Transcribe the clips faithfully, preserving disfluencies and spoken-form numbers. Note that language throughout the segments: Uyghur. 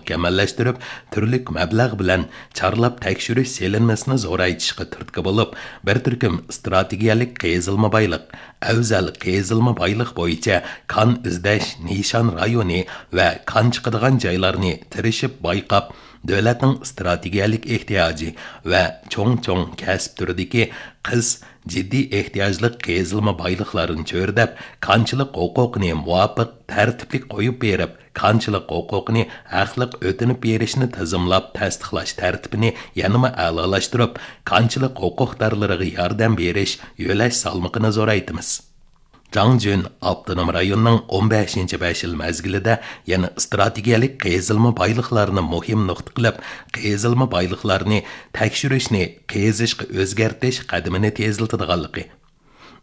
مۇكەممەللەشتۈرۈپ، تۈرلۈك مەبلەغ بىلەن چارلاپ تەكشۈرۈش سېلىنمىسىنى زورايتىشقا تۈرتكە بولۇپ، بىر تۈركۈم ئىستراتېگىيەلىك قېزىلما بايلىق، ئەۋزەل قېزىلما بايلىق بويىچە كان ئىزدەش نىشان رايونى ۋە كان چىقىدىغان جايلارنى تىرىشىپ بايقاپ، دۆلەتنىڭ ئىستراتېگىيەلىك ئېھتىياجى ۋە چوڭ چوڭ كەسىپ تۈرىدىكى قىس جىددىي ئېھتىياجلىق قېزىلما بايلىقلارنى چۆرىدەپ، كانچىلىق ھوقۇقىنى مۇۋاپىق، تەرتىپلىك قويۇپ بېرىپ، كانچىلىق ھوقۇقىنى ھەقلىق ئۆتىنىپ بېرىشنى تىزىملاپ تەستىقلاش تەرتىپىنى يەنىمۇ ئەلالاشتۇرۇپ، كانچىلىق ھوقۇقدارلىرىغا ياردەم بېرىش يۆلەش سالمىقىنى زورايتىمىز. جاڭ جۈن ئاپتونوم رايوننىڭ ئون بەشىنچى بەش يىل مەزگىلىدە يەنە ئىستراتېگىيەلىك قېزىلما بايلىقلارنى مۇھىم نۇقتا قىلىپ، قېزىلما بايلىقلارنى تەكشۈرۈشنى قېزىشقا ئۆزگەرتىش قەدىمىنى تېزلىتىدىغانلىقى،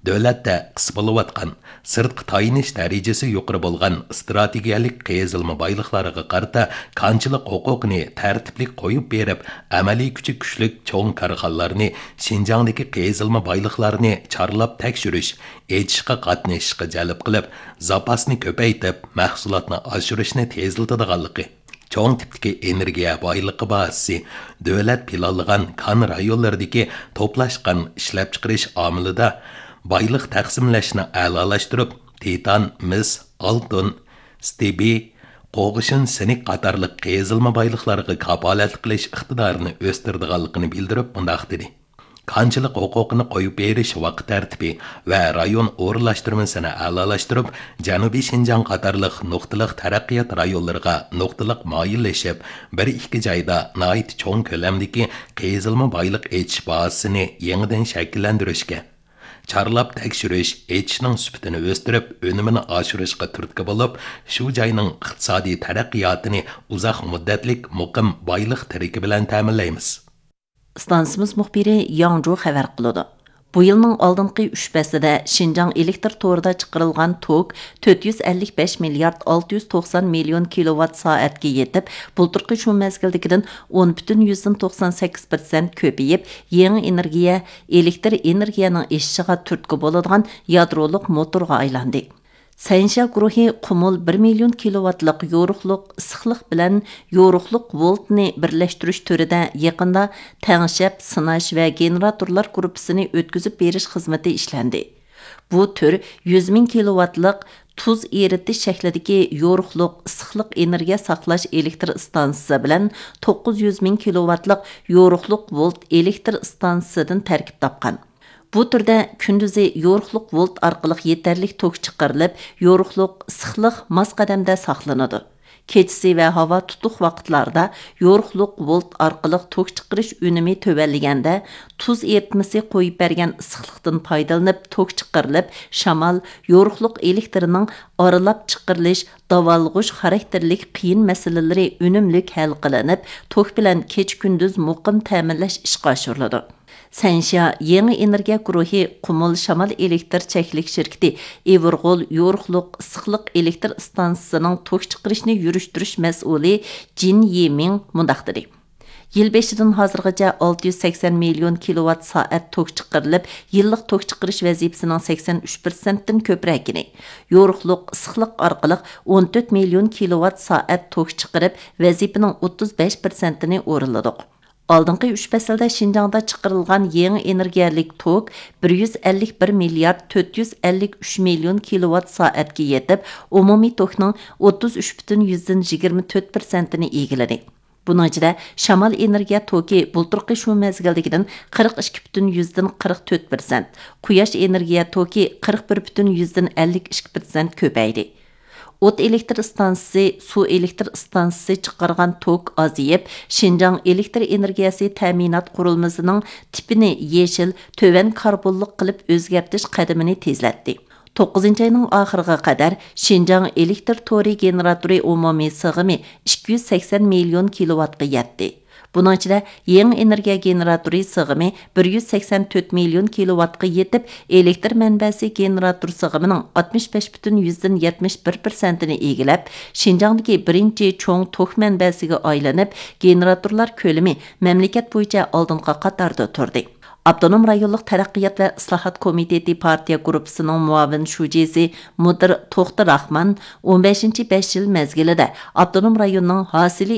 دۆلەتتە قىس بولۇۋاتقان، سىرتقا تايىنىش دەرىجىسى يۇقىرى بولغان ئىستراتېگىيەلىك قېزىلما بايلىقلارغا قارىتا كانچىلىق ھوقۇقىنى تەرتىپلىك قويۇپ بېرىپ، ئەمەلىي كۈچى كۈچلۈك چوڭ كارخانىلارنى شىنجاڭدىكى قېزىلما بايلىقلارنى چارلاپ تەكشۈرۈش، ئېچىشقا قاتنىشىشقا جەلپ قىلىپ، زاپاسنى كۆپەيتىپ، مەھسۇلاتنى ئاشۇرۇشنى تېزلىتىدىغانلىقى، چوڭ تىپتىكى ئېنېرگىيە بايلىقى بازىسى، دۆلەت پىلانلىغان كان رايونلىرىدىكى توپلاشقان ئىشلەپچىقىرىش ئامىلىدا بايلىق تەقسىملەشنى ئەلالاشتۇرۇپ، تىتان، مىس، ئالتۇن، ستېبىي، قوغۇشۇن سىنك قاتارلىق قېزىلما بايلىقلارغا كاپالەتلىك قىلىش ئىقتىدارىنى ئۆستۈرىدىغانلىقىنى بىلدۈرۈپ، مۇنداق دېدى: كانچىلىق ھوقۇقىنى قويۇپ بېرىش ۋاقىت تەرتىپى ۋە رايون ئورۇنلاشتۇرمىسىنى ئەلالاشتۇرۇپ، جەنۇبىي شىنجاڭ قاتارلىق نۇقتىلىق تەرەققىيات رايونلىرىغا نۇقتىلىق مايىللىشىپ، بىر ئىككى جايدا ناھايىتى چوڭ كۆلەمدىكى قېزىلما بايلىق ئېچىش بازىسىنى يېڭىدىن شەكىللەندۈرۈشكە، چارلاپ تەكشۈرۈش، ئېچىشنىڭ سۈپىتىنى ئۆستۈرۈپ، ئۈنۈمىنى ئاشۇرۇشقا تۈرتكە بولۇپ، شۇ جاينىڭ ئىقتىسادىي تەرەققىياتىنى ئۇزاق مۇددەتلىك مۇقىم بايلىق تىرىكى بىلەن تەمىنلەيمىز. ئىستانسىمىز مۇخبىرى ياڭ جۇ خەۋەر قىلىدۇ. بۇ يىلنىڭ ئالدىنقى ئۈچ پەسلىدە شىنجاڭ ئېلېكتىر تورىدا چىقىرىلغان توك تۆت يۈز ئەللىك بەش مىليارد ئالتە يۈز توقسان مىليون كىلوۋات سائەتكە يېتىپ، بۇلتۇرقى شۇ مەزگىلدىكىدىن ئون پۈتۈن يۈزدىن توقسان سەككىز پىرسەنت كۆپىيىپ، يېڭى ئېنېرگىيە، ئېلېكتىر ئېنېرگىيەنىڭ ئېشىشىغا تۈرتكە بولىدىغان يادرولۇق موتورغا ئايلاندى. سەنشيا گۇرۇھى قۇمۇل بىر مىليون كىلوۋاتلىق يورۇقلۇق ئىسسىقلىق بىلەن يورۇقلۇق ۋولتنى بىرلەشتۈرۈش تۈرىدە يېقىندا تەڭشەپ سىناش ۋە گېنېراتورلار گۇرۇپپىسىنى ئۆتكۈزۈپ بېرىش خىزمىتى ئىشلەندى. بۇ تۈر يۈز مىڭ كىلوۋاتلىق تۇز ئېرىتىش شەكلىدىكى يورۇقلۇق ئىسسىقلىق ئېنېرگىيە ساقلاش ئېلېكتر ئىستانسىسى بىلەن توققۇز يۈز مىڭ كىلوۋاتلىق يورۇقلۇق ۋولت ئېلېكتر ئىستانسىسىدىن تەركىب تاپقان. بۇ تۈردە كۈندۈزى يورۇقلۇق ۋولت ئارقىلىق يېتەرلىك توك چىقىرىلىپ، يورۇقلۇق ئىسسىقلىق ماس قەدەمدە ساقلىنىدۇ. كېچىسى ۋە ھاۋا تۇتۇق ۋاقىتلاردا يورۇقلۇق ۋولت ئارقىلىق توك چىقىرىش ئۈنۈمى تۆۋەنلىگەندە، تۇز ئېرىتمىسى قويۇپ بەرگەن ئىسسىقلىقتىن پايدىلىنىپ توك چىقىرىلىپ، شامال، يورۇقلۇق ئېلېكتىرىنىڭ ئارىلاپ چىقىرىلىش، داۋالغۇش خاراكتېرلىك قىيىن مەسىلىلىرى ئۈنۈملۈك ھەل قىلىنىپ، توك بىلەن كېچە-كۈندۈز مۇقىم تەمىنلەش ئىشقا ئاشۇرۇلىدۇ. سەنشيا يېڭى ئېنېرگىيە گۇرۇھى قۇمۇل شامال ئېلېكتىر چەكلىك شىركىتى ئىۋىرغول يورۇقلۇق ئىسسىقلىق ئېلېكتىر ئىستانسىسىنىڭ توك چىقىرىشنى يۈرۈشتۈرۈش مەسئۇلى جىن يىمىڭ مۇنداق دېدى: يىل بېشىدىن ھازىرغىچە ئالتە يۈز سەكسەن مىليون كىلوۋات سائەت توك چىقىرىلىپ، يىللىق توك چىقىرىش ۋەزىپىسىنىڭ سەكسەن ئۈچ پىرسەنتتىن كۆپرەكىنى، يورۇقلۇق ئىسسىقلىق ئارقىلىق ئون تۆت مىليون كىلوۋات سائەت توك چىقىرىپ، ۋەزىپىنىڭ ئوتتۇز بەش پىرسەنتىنى ئورۇنلىدۇق. ئالدىنقى ئۈچ پەسىلدە شىنجاڭدا چىقىرىلغان يېڭى ئېنېرگىيەلىك توك بىر يۈز ئەللىك بىر مىليارد تۆت يۈز ئەللىك ئۈچ مىليون كىلوۋات سائەتكە يېتىپ، ئومۇمىي توكنىڭ ئوتتۇز ئۈچ پۈتۈن يۈزدىن يىگىرمە تۆت پىرسەنتىنى ئىگىلىدى. بۇنىڭ ئىچىدە شامال ئېنېرگىيە توكى بۇلتۇرقى شۇ مەزگىلدىكىدىن قىرىق ئىككى پۈتۈن يۈزدىن قىرىق تۆت پىرسەنت، قۇياش ئېنېرگىيە توكى قىرىق بىر پۈتۈن يۈزدىن ئەللىك ئىككى پىرسەنت كۆپەيدى. ئوت ئېلېكتر ئىستانسىسى، سۇ ئېلېكتر ئىستانسىسى چىقارغان توك ئازىيىپ، شىنجاڭ ئېلېكتر ئېنېرگىيەسى تەمىنات قۇرۇلمىسىنىڭ تىپىنى يېشىل، تۆۋەن كاربونلۇق قىلىپ ئۆزگەرتىش قەدىمىنى تېزلەتتى. توققۇزىنچى ئاينىڭ ئاخىرىغا قەدەر شىنجاڭ ئېلېكتر تورى گېنېراتورى ئومۇمىي سىغىمى ئىككى يۈز سەكسەن مىليون كىلوۋاتقا يەتتى. بۇنىڭ ئىچىدە يېڭى ئېنېرگىيە گېنېراتورى سىغىمى بىر يۈز سەكسەن تۆت مىليون كىلوۋاتقا يېتىپ، ئېلېكتر مەنبەسى گېنېراتور سىغىمىنىڭ ئاتمىش بەش پۈتۈن يۈزدىن يەتمىش بىر پىرسەنتىنى ئىگىلەپ، شىنجاڭدىكى بىرىنچى چوڭ توك مەنبەسىگە ئايلىنىپ، گېنېراتورلار كۆلىمى مەملىكەت بويىچە ئالدىنقى قاتاردا تۇردى. ئاپتونوم رايونلۇق تەرەققىيات ۋە ئىسلاھات كومىتېتى پارتىيە گۇرۇپپىسىنىڭ مۇئاۋىن شۇجىسى مۇدىر توختى راخمان ئون بەشىنچى بەش يىل مەزگىلىدە ئاپتونوم رايوننىڭ ھاسىلى